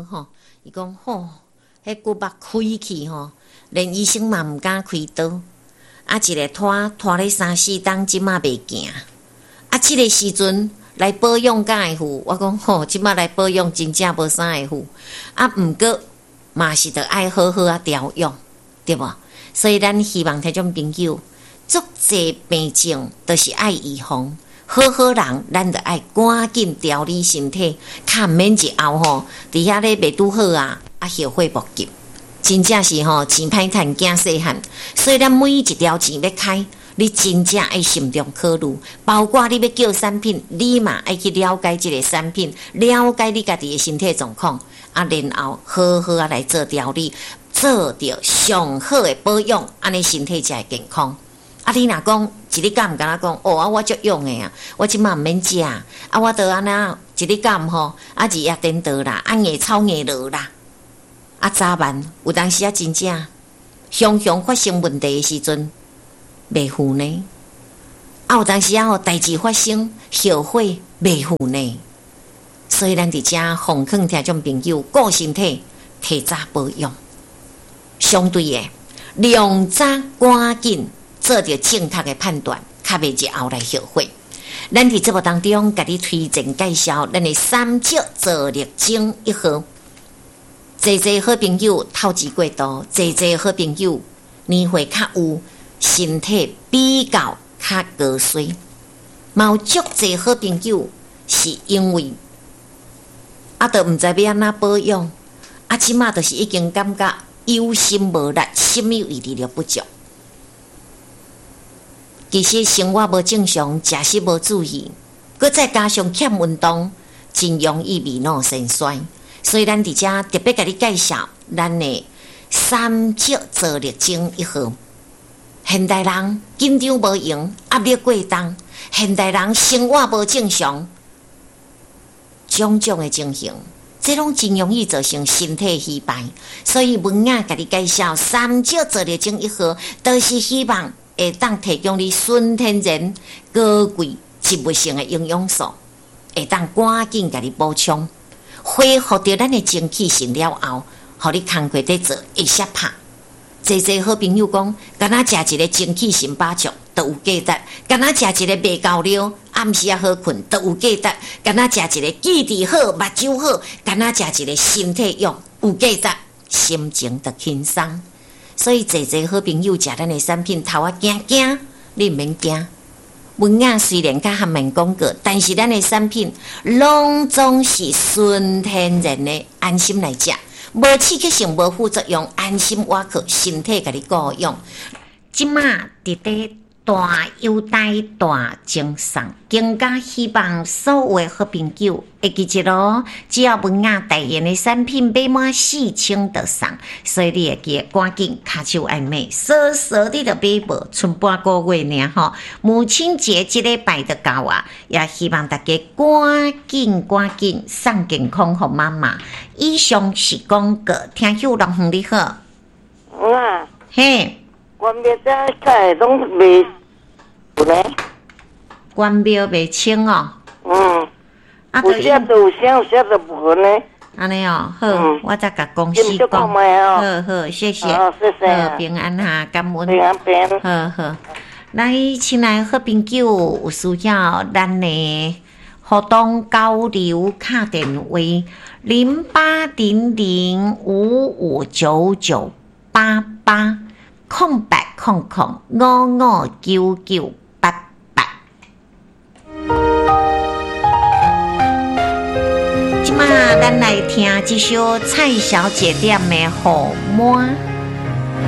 吼，伊講吼，彼骨肉開去吼，連醫生嘛毋敢開刀。啊，一个拖拖咧三四冬，這馬袂行。啊，這个時陣來保養敢會赴？我講吼，這馬來保養真正無啥會赴。啊，毋過嘛是著愛好好仔調養，對無？所以咱希望聽眾朋友，足濟病症都是愛預防。好好人，咱著愛趕緊調理身體，較毋免日後吼，佇遐咧袂拄好啊，啊後悔莫及。真正是吼，錢歹趁，囝細漢，所以咱每一條錢欲開，你真正愛慎重考慮。包括你欲叫產品，你嘛愛去了解這个產品，了解你家己的身體狀況，啊，然後好好仔來做調理，做著上好的保養，按呢身體才會健康。啊，你若講一日敢毋敢若講，哦啊，我足勇的啊，我這馬毋免食，啊，我著按呢一日敢吼，啊，日夜顛倒啦，啊，硬操硬落啦。啊，早晚有當時啊，真正常常發生問題的時陣，袂赴呢。啊，有當時啊，吼代誌發生，後悔袂赴呢。所以咱佇遮奉勸聽眾朋友，顧身體，提早保養。相對的，量早趕緊做著正確的判斷，較袂日後來後悔。咱佇節目當中，共你推薦介紹咱的三石造力精一號。濟濟好朋友透支過度，濟濟好朋友年歲較有，身體比較較高衰，嘛有足濟好朋友是因為啊，都毋知欲按怎保養，啊，這馬就是已經感覺有心無力，啥物位置都不足。其實生活無正常，食食無注意，閣再加上欠運動，真容易未老先衰。所以咱佇遮特別共你介紹咱的三石造力精一號。現代人緊張無閒，壓力過重，現代人生活無正常，種種的情形，這攏真容易造成身體虛敗。所以文雅共你介紹三石造力精一號，就是希望會當提供你純天然高貴植物性的營養素，會當趕緊共你補充。恢復著咱的精氣神了後，予你工課佇做會寫拍。濟濟好朋友講，敢若食一个精氣神飽足，就有價值；敢若食一个袂夠尿，暗時仔好睏，就有價值；敢若食一个記憶好、目睭好，敢若食一个身體勇，有價值，心情就輕鬆。所以濟濟好朋友食咱的產品，頭仔驚驚，你毋免驚。文雅雖然較含面廣告，但是咱的產品攏總是純天然的，安心來食，無刺激性，無副作用，安心倚靠身體共你顧養。這馬佇咧大優待大贈送，更加希望所有的好朋友會記得囉，只要文雅代言的產品買滿4000就送，所以你會記得趕緊跤手愛買，少少你就買無，賰半個月爾吼。母親節這禮拜就到啊，也希望大家趕緊趕緊送健康予媽媽。以上是廣告，聽友龍鳳你好。啊。嘿。關廟這菜攏袂有呢？關廟袂清哦。嗯。啊，有時就有聲，有時就無呢。按呢哦，好，我再共公司講。好好，謝謝。好，謝謝。好，平安哈，感恩。平安平安。好好，來，親愛好朋友，有需要咱的活動交流敲電話08005599880800559988。這馬咱來聽這首蔡小姐點的《雨滿》。